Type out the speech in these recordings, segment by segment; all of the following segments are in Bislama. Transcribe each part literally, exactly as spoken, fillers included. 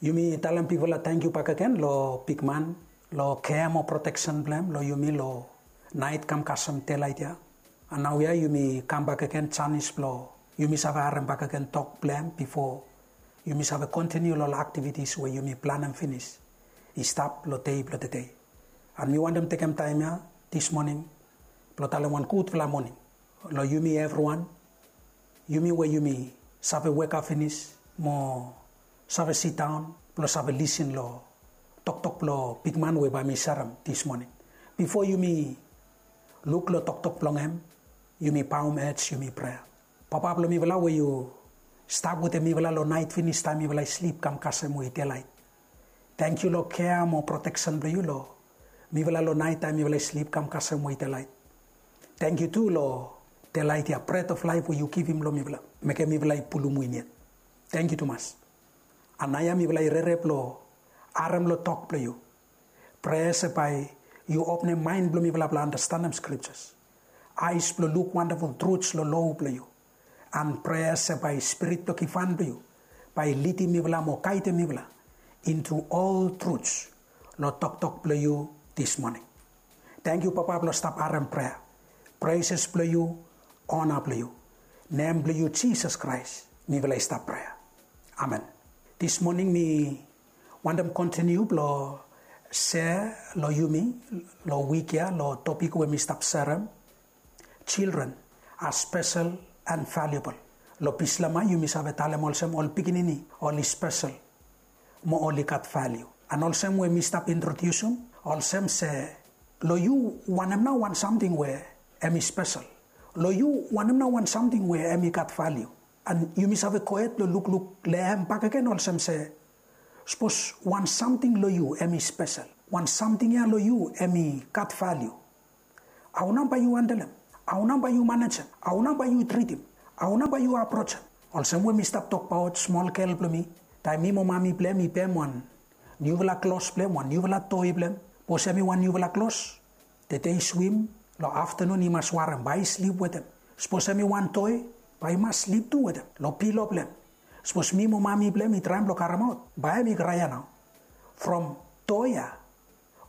Yumi talem bigfala tangkiu bakegen long bigman, long kea mo proteksen blong hem long yumi long naet kam kasem delaet ya. An naoia yumi kam bakegen janis blong yumi save harem bakegen tok blong hem bifo yumi save kontiniu long ol aktivitis we yumi planem finis i stap long dei blong tede. An mi wantem tekem taem ya dis moning blong talem wan gudfala moning long yumi evriwan, yumi we yumi save wekap finis mo save sidaon blong save lisin long toktok blong bigman we bae mi serem dis moning. Bifo yumi luk long toktok blong hem, yumi baom ej, yumi prea. Papa blong mifala we yu stap wetem mifala long naet finis taem mifala i slip kam kasem we i delaet. Tangkiu long kea mo proteksen blong yu long mifala long naet taem mifala i slip kam kasem we i delaet. Tangkiu tu long delaet ya, bret of laef we yu givim long mifala, mekem mifala i pulum win yet. Tangkiu tumas. An naoia mifala i rere blong harem long tok blong yu. Prea se bae yu openem maen blong mifala blong andastanem skriptas, aes blong luk wandaful truts long lo blong yu. An prea se bae spirit blong givhan blong yu bae i lidim mifala mo gaedem mifala intu ol truts long toktok blong yu dis moning. Tangkiu Papa blong stap harem prea. Preses blong yu, ona blong yu, nem blong yu Jisas Kraes mifala i stap prea. Amen. Dis moning mi wantem kontiniu blong sea long yumi long wik ya long topik we mi stap serem, children are special and valuable. Long Bislama yumi save talem olsem ol pikinini oli spesel mo oli gat valiu. An olsem we mi stap introdiusim olsem se long yu wanem nao wan samting we hem i spesel? Long yu wanem nao wan samting we hem i gat valiu? An yumi save gohed blong lukluk long hem bakegen olsem se sapos wan samting long yu hem i spesel, wan samting ya long yu hem i gat valiu, hao nao bae yu handelem? Hao nao bae yu manejem? Hao nao bae yu tritim? Hao nao bae yu aprojem? Olsem we mi stap tokbaot smol gel blong mi, taem mi mo mami blong hem i pem wan niufala klos blong hem, wan niufala toi blong hem. Sapos hem i wan niufala klos, tede i swim, long aftanun i mas warem, bae i slip wetem. Sapos hem i wan toi, bae i mas slip tu wetem long pilo blong hem. Sapos mi mo mami blong hem i traem blong karemaot, bae hem i kraea nao. From toi ya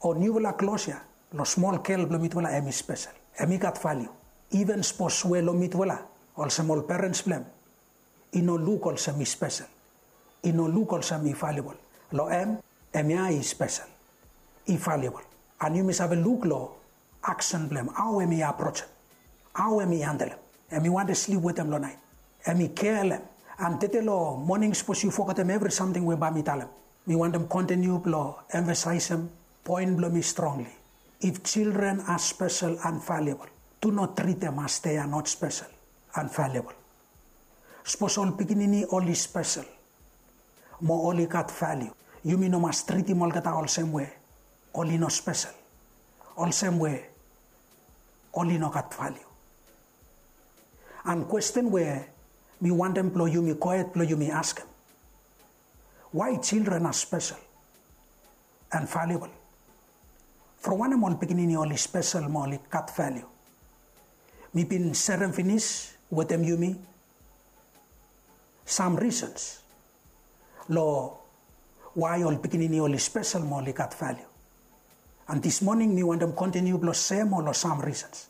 o niufala klos ya long smol gel blong mitufala, hem i spesel, hem i gat valiu. Iven sapos we long mitufala olsem ol perens blong hem i no luk olsem i spesel, i no luk olsem i valiubol, long hem, hemia i spesel, i valiubol. An yumi save luk long aksen blong hem, hao hem i aprojem, hao hem i handelem. Hem i wantem slip wetem long naet, hem i kea long hem. An tede long moning sapos yu fogetem evri samting we bae mi talem, mi wantem kontiniu blong emfasaesem poen blong mi strongli. If children are special and valuable, do not treat them as they are not special and valuable. Sapos ol pikinini oli spesel mo oli gat valiu, yumi no mas tritim olgeta olsem we oli no spesel, olsem we oli no gat valiu. An kwesten we mi wantem blong yumi gohed blong yumi askem, why children are special and valuable? From wanem ol pikinini oli spesel mo oli gat valiu? Mi bin serem finis wetem yumi sam risens long why ol pikinini oli spesel mo oli gat valiu. An dis moning mi wantem kontiniu blong sea moa long sam risens.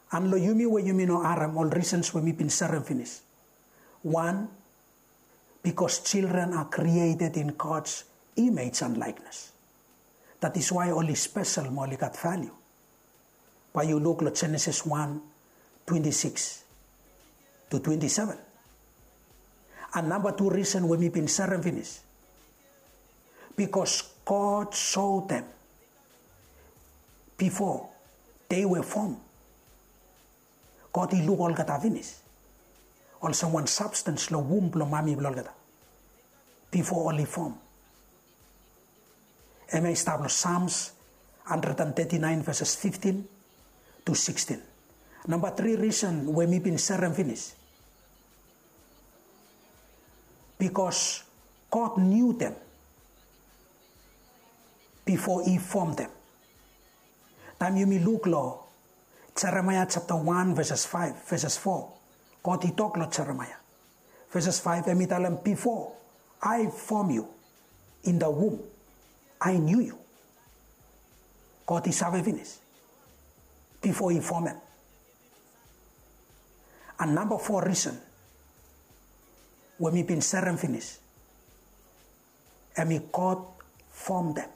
An long yumi we yumi no harem ol risens we mi bin serem finis. Wan, bikos children are created in God's image and likeness. That is why oli spesel mo oli gat valiu. Bae yu luk long Jenesis wan, twenti sikis tu twenti seven. An namba tu risen we mi bin serem finis, bikos God soem dem bifo dei we fom. God i luk olgeta finis olsem wan sabstens long wum blong mami blong olgeta bifo oli fom. Hemia i stap long Sams handred an teti naen, veses fiftin tu sikstin. Namba tri risen we mi bin serem finis, bikos God niu dem bifo i fom dem. Taem yumi luk long Jeremaea japta wan, veses faef, veses fo, God i tok long Jeremaea, veses faef, hem i talem, bifo I form you in the womb. I knew you. God i save finis bifo i fomem. And namba fo risen we mi bin serem finis, em i God fom dem.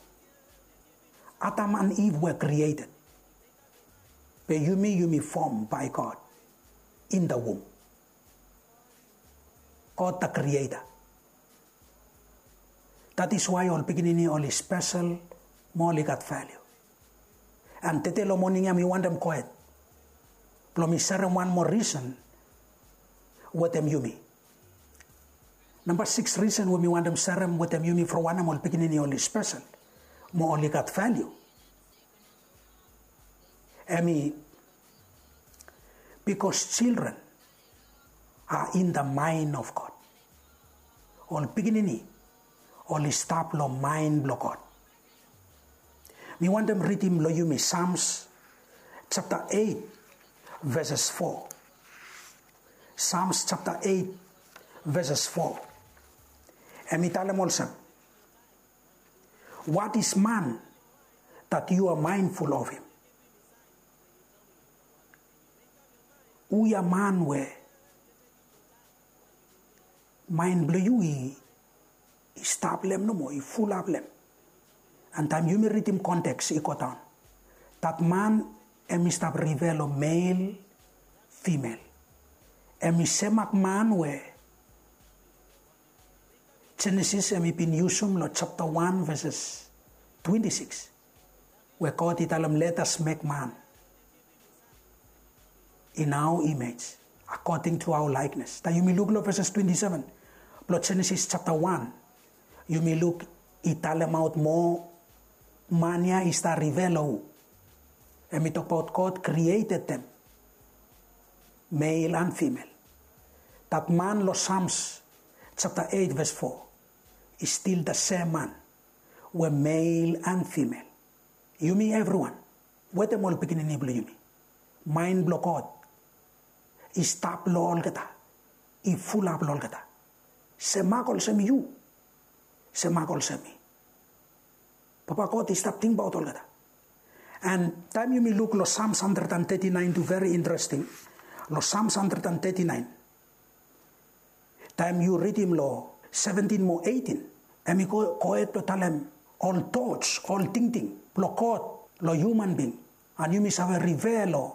Adam and Eve were created. Be yumi, yumi fom by God in the womb. God the creator. That is why ol pikinini oli spesel mo oli gat value. And tede long moning ya mi wantem gohed blong mi serem wan moa risen wetem yumi. Namba sikis risen we mi wantem serem wetem yumi from wanem ol pikinini oli spesel mo oli gat value, em i bikos children are in the mind of God. Ol pikinini oli stap long mind blong God. Mi wantem ridim long yumi Psalms chapter eight, verses four. Psalms chapter eight, verses four. Em i talem olsem, "What is man that you are mindful of him?" Hu ya man we mind blong yu i, i stap long em nomo, i fulap long em? And taem yumi ridim konteks i go daon, that man em i stap refer long male, female. Em i semak man we Genesis em i bin yusum long chapter one verses twenty-six, we God i talem, "Let us make man in our image, according to our likeness." Taem yumi luk long verses twenty-seven blong Genesis chapter one, yumi luk i talemaot moa man ya i stap refer long hu. Em i tokbaot God created them, male and female. That man long Psalms chapter eight verse four is still the same man we male and female. Yumi evriwan wetem ol pikinini blong yumi, mind blong God i stap long olgeta, i fulap long olgeta. Semak olsem yu, semak olsem mi. Papa God i stap tingbaot olgeta. And taem yumi luk long Psalms hundred and thirty-nine tu, very interesting. Long Psalms hundred and thirty-nine, taem yu ridim long seventeen mo eighteen, em i go, gohed blong talem ol thoughts, ol tingting blong God long human being. And yumi save refer long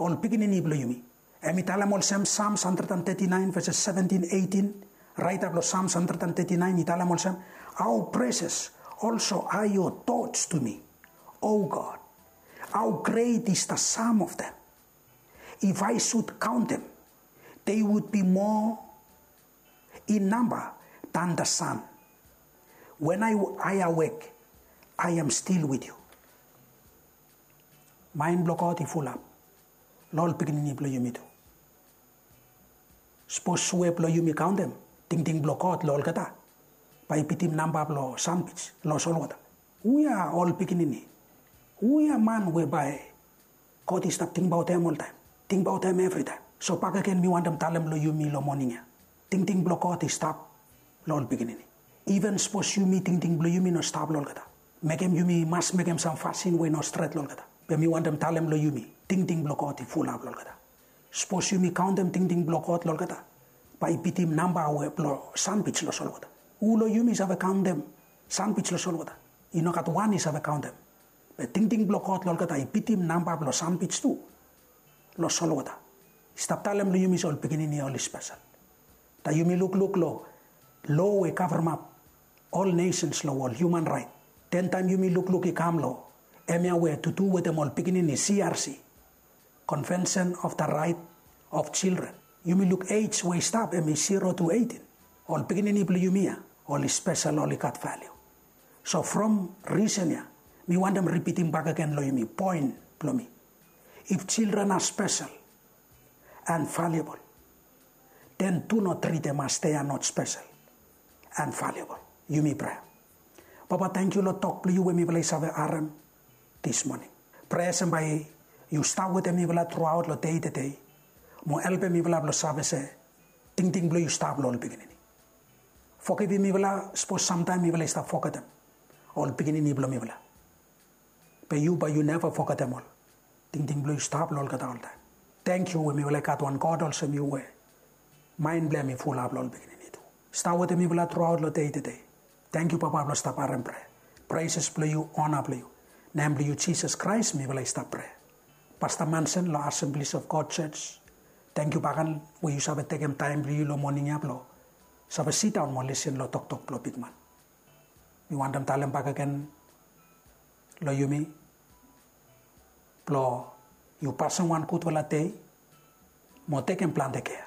ol pikinini blong yumi. Em i talem olsem, Psalms hundred and thirty-nine verses seventeen, eighteen, raetap long Psalms hundred and thirty-nine i talem olsem, "How precious also are your thoughts to me, O God. How great is the sum of them. If I should count them, they would be more in number than the sand. When I, I awake, I am still with you." Mind blong God i fulap long ol pikinini blong yumi tu. Sapos we blong yumi kaontem tingting blong God long olgeta, bae i bitim namba blong sanbij long solwota. Hu ya ol pikinini? Hu ya man we bae God i stap tingbaot hem oltaem, tingbaot hem evritaem? So bakegen mi wantem talem long yumi long moning ya, tingting blong God i stap long ol pikinini. Iven sapos yumi tingting blong yumi no stap long olgeta, mekem yumi mas mekem sam fasin we i no stret long olgeta. Be mi wantem talem long yumi, tingting blong God i fulap long olgeta. Sapos yumi kaontem tingting blong God long olgeta, bae i bitim namba we blong sanbij long solwota. Hu long yumi save kaontem sanbij long solwota? I no gat wan i save kaontem. Be tingting blong God long olgeta i bitim namba blong sanbij tu long solwota. I stap talem long yumi se ol pikinini oli spesel. Taem yumi lukluk long loa we i kavremap ol nesens long wol, human right, den taem yumi lukluk i kam long hemia we tu tu wetem ol pikinini, C R C, Convention of the Right of Children, yumi luk ej we i stap, hemi zero to eighteen. Ol pikinini blong yumi ya oli spesel, oli gat valiu. So from risen ya mi wantem ripitim bakegen long yumi poen blong mi. If children are special and valuable, then do not treat them as they are not special and valuable. Yumi prea. Papa, tangkiu long tok blong yu we mifala i save harem dismoning. Prea se bae yu stap wetem mifala truaot long dei tedei mo helpem mifala blong save se tingting blong yu stap long ol pikinini. Fogivim mifala sapos samtaem mifala i stap fogetem ol pikinini blong mifala. Be yu bae yu neva fogetem ol. Tingting blong yu stap long olgeta oltaem. Tangkiu we mifala i gat wan God olsem yu we maen blong em i fulap long ol pikinini tu. Stap wetem mifala truaot long dei tede. Tangkiu Papa blong stap harem prea. Preses blong yu, ona blong yu. Nem blong yu Jisas Kraes mifala i stap prea. Pasta Mansen long Assemblies of God Church, tangkiu baken we yu save tekem taem blong yu long moning ya blong save sidaon mo lisin long toktok blong bigman. Mi wantem talem bakegen long yumi blong yu pasem wan gudfala dei mo tekem plante kea.